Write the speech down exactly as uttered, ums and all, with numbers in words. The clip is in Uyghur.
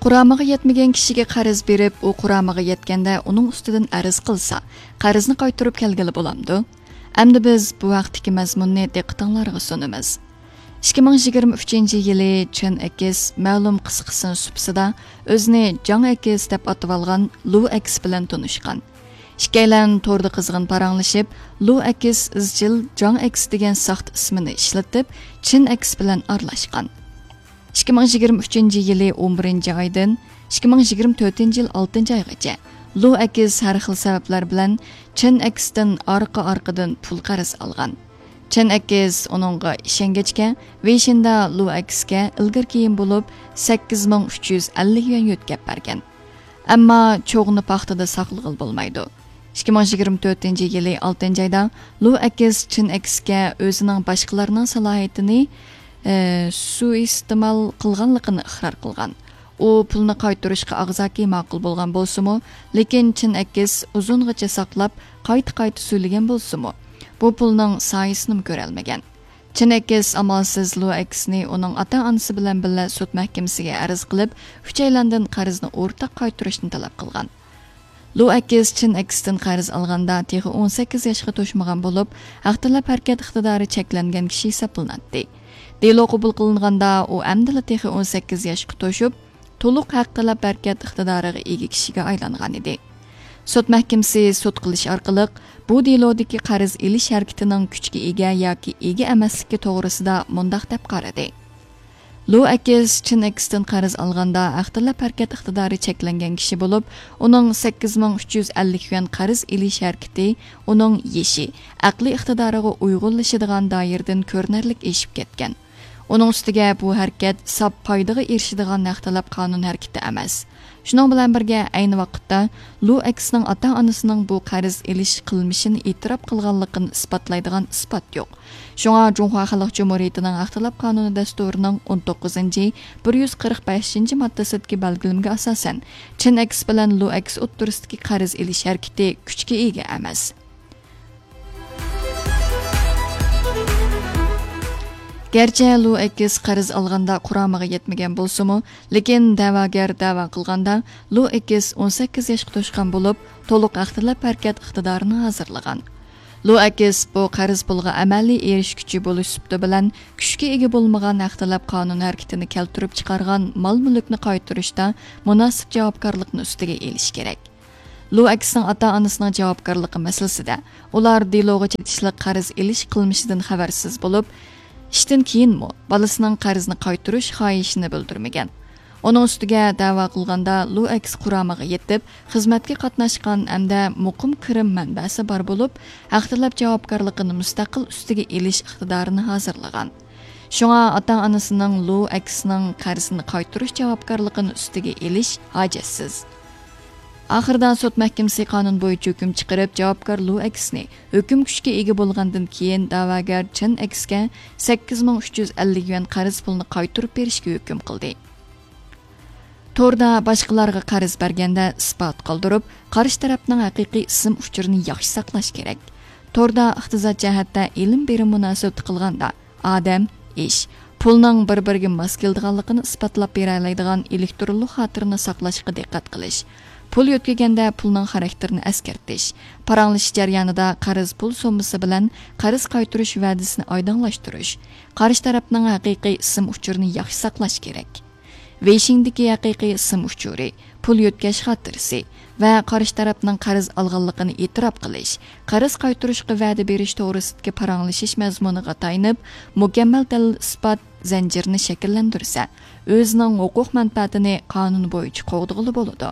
قۇرامىغا يەتمىگەن كىشىگە قەرز بېرىپ، ئۇ قۇرامىغا يەتكەندە ئۇنىڭ ئۈستىدىن ئەرز قىلسا، قەرزنى قايتۇرۇپ كەلگىلى بولامدۇ؟ ئەمدى بىز بۇ ھەقتىكى مەزمۇننى دىققىتىڭلارغا سۇنىمىز. ئىككى مىڭ يىگىرمە ئۈچىنچى يىلى چېن ئېكس مەلۇم قىسقىسىنىڭ سۇپىسىدا ئۆزىنى جاڭ ئېكس دەپ ئاتىۋالغان لۇ ئېكس بىلەن تونۇشقان. ئىككىيلەن توردا قىزغىن پاراڭلىشىپ، لۇ ئېكس ئىزچىل جاڭ ئېكس دېگەن ساختا ئىسمىنى ئىشلىتىپ، چېن ئېكس بىلەن ئارىلاشقان. ئىككى مىڭ يىگىرمە ئۈچىنچى يىلى ئون بىرىنچى ئايدىن ئىككى مىڭ يىگىرمە تۆتىنچى يىل ئالتىنچى ئايغىچە لۇ ئېكس ھەر خىل سەۋەبلەر بىلەن چېن ئېكستىن ئارقا-ئارقىدىن پۇل قەرز ئالغان. چېن ئېكس ئۇنىڭغا ئىشەنگەچكە، ۋېيشىندا لۇ ئېكسكە ئىلگىرى-كېيىن بولۇپ سەككىز مىڭ ئۈچ يۈز ئەللىك يۈەن يۆتكەپ بەرگەن. ئەمما چوغنى پاختىدا ساقلىغىلى بولمايدۇ. ئىككى مىڭ يىگىرمە تۆتىنچى يىلى ئالتىنچى ئايدا لۇ ئېكس چېن ئېكسكە ئۆزىنىڭ باشقىلارنىڭ سالاھىيىتىنى، ئى، سۇيىئىستېمال قىلغانلىقىنى ئىقرار قىلغان. ئۇ پۇلنى قايتۇرۇشقا ئاغزاكى ماقۇل بولغان بولسىمۇ، لېكىن چېن ئېكس ئۇزۇنغىچە ساقلاپ، قايتا-قايتا سۆيلىگەن بولسىمۇ، بۇ پۇلنىڭ سايىسىنىمۇ كۆرەلمىگەن. چېن ئېكس ئامالسىز لۇ ئېكسنى ئۇنىڭ ئاتا-ئانىسى بىلەن بىللە سوت مەھكىمىسىگە ئەرز قىلىپ، ئۈچەيلەندىن قەرزنى ئورتاق قايتۇرۇشنى تەلەپ قىلغان. لۇ ئېكس چېن ئېكستىن قەرز ئالغاندا تېخى ئون سەككىز ياشقا توشمىغان بولۇپ، ھەق تەلەپ ھەرىكەت ئىقتىدارى چەكلەنگەن كىشى ھېسابلىناتتى. دېلو قوبۇل قىلىنغاندا ئۇ ئەمدىلا تېخى ئون سەككىز ياشقا توشۇپ، تولۇق ھەق تەلەپ ھەرىكەت ئىقتىدارىغا ئىگە كىشىگە ئايلانغان ئىدى. سوت مەھكىمىسى سوت قىلىش ئارقىلىق بۇ دېلودىكى قەرز ئېلىش ھەرىكىتىنىڭ كۈچكە ئىگە ياكى ئىگە ئەمەسلىكى توغرىسىدا مۇنداق دەپ قارىدى: لۇ ئېكس چېن ئېكستىن قەرز ئالغاندا ھەق تەلەپ ھەرىكەت ئىقتىدارى چەكلەنگەن كىشى بولۇپ، ئۇنىڭ سەككىز مىڭ ئۈچ يۈز ئەللىك يۈەن قەرز ئېلىش ھەرىكىتى ئۇنىڭ يېشى، ئەقلىي ئىقتىدارىغا ئۇيغۇنلىشىدىغان دائىرىدىن كۆرۈنەرلىك ئېشىپ كەتكەن. ئۇنىڭ ئۈستىگە بۇ ھەرىكەت ساپ پايدىغا ئېرىشىدىغان ھەق تەلەپ قانۇن ھەرىكىتى ئەمەس. شۇنىڭ بىلەن بىرگە، ئەينى ۋاقىتتا لۇ ئېكسنىڭ ئاتا-ئانىسىنىڭ بۇ قەرز ئېلىش قىلمىشىنى ئېتىراپ قىلغانلىقىنى ئىسپاتلايدىغان ئىسپات يوق. شۇڭا جۇڭخۇا خەلق جۇمھۇرىيىتىنىڭ ھەق تەلەپ قانۇنى دەستۇرىنىڭ ئون توققۇزىنچى، بىر يۈز قىرىق بەشىنچى ماددىسىدىكى بەلگىلىمىگە ئاساسەن، چېن ئېكس بىلەن لۇ ئېكس ئوتتۇرىسىدىكى قەرز ئېلىش ھەرىكىتى كۈچكە ئىگە ئەمەس. گەرچە لۇ ئېكس قەرز ئالغاندا قۇرامىغا يەتمىگەن بولسىمۇ، لېكىن دەۋاگەر دەۋا قىلغاندا، لۇ ئېكس ئون سەككىز ياشقا توشقان بولۇپ، تولۇق ھەق تەلەپ ھەرىكەت ئىقتىدارىنى ھازىرلىغان. لۇ ئېكس بۇ قەرز پۇلغا ئەمەلىي ئېرىشكۈچى بولۇش سۈپىتى بىلەن كۈچكە ئىگە بولمىغان ھەق تەلەپ قانۇن ھەرىكىتىنى كەلتۈرۈپ چىقارغان مال-مۈلۈكنى قايتۇرۇشتا مۇناسىپ جاۋابكارلىقنى ئۈستىگە ئېلىشى كېرەك. لۇ ئېكسنىڭ ئاتا-ئانىسىنىڭ جاۋابكارلىقى مەسىلىسىدە، ئۇلار دېلوغا چېتىشلىق قەرز ئېلىش قىلمىشىدىن خەۋەرسىز بولۇپ، ئىشتىن كېيىنمۇ بالىسىنىڭ قەرزنى قايتۇرۇش خاھىشىنى بىلدۈرمىگەن. ئۇنىڭ ئۈستىگە، دەۋا قىلغاندا لۇ ئېكس قۇرامىغا يېتىپ، خىزمەتكە قاتناشقان ھەمدە مۇقىم كىرىم مەنبەسى بار بولۇپ، ھەق تەلەپ جاۋابكارلىقىنى مۇستەقىل ئۈستىگە ئېلىش ئىقتىدارىنى ھازىرلىغان. شۇڭا ئاتا-ئانىسىنىڭ لۇ ئېكسنىڭ قەرزىنى قايتۇرۇش جاۋابكارلىقىنى ئۈستىگە ئېلىش ھاجەتسىز. ئاخىرىدا سوت مەھكىمىسى قانۇن بويىچە ھۆكۈم چىقىرىپ، جاۋابكار لۇ ئېكسنى ھۆكۈم كۈچكە ئىگە بولغاندىن كېيىن دەۋاگەر چېن ئېكسكە سەككىز مىڭ ئۈچ يۈز ئەللىك يۈەن قەرز پۇلنى قايتۇرۇپ بېرىشكە ھۆكۈم قىلدى. توردا باشقىلارغا قەرز بەرگەندە ئىسپات قالدۇرۇپ، قارشى تەرەپنىڭ ھەقىقىي ئىسىم ئۇچۇرىنى ياخشى ساقلاش كېرەك. توردا ئىقتىساد جەھەتتە ئېلىم بېرىم مۇناسىۋىتى قىلغاندا، ئادەم، ئىش، پۇلنىڭ بىر-بىرىگە ماس كېلىدىغانلىقىنى ئىسپاتلاپ بېرەلەيدىغان ئېلېكترونلۇق خاتىرىنى ساقلاشقا دىققەت قىلىش، پۇل يۆتكىگەندە پۇلنىڭ خاراكتېرىنى ئەسكەرتىش، پاراڭلىشىش جەريانىدا قەرز پۇل سوممىسى بىلەن قەرز قايتۇرۇش ۋەدىسىنى ئايدىڭلاشتۇرۇش، قارشى تەرەپنىڭ ھەقىقىي ئىسىم ئۇچۇرىنى ياخشى ساقلاش كېرەك. ۋېيشىڭدىكى ھەقىقىي ئىسىم ئۇچۇرى، پۇل يۆتكەش خاتىرىسى ۋە قارشى تەرەپنىڭ قەرز ئالغانلىقىنى ئېتىراپ قىلىش، قەرز قايتۇرۇشقا ۋەدە بېرىش توغرىسىدىكى پاراڭلىشىش مەزمۇنىغا تايىنىپ، مۇكەممەل دەلىل-ئىسپات زەنجىرىنى شەكىللەندۈرسە، ئۆزىنىڭ ھوقۇق مەنپەئەتىنى قانۇن بويىچە قوغدىغىلى بولىدۇ.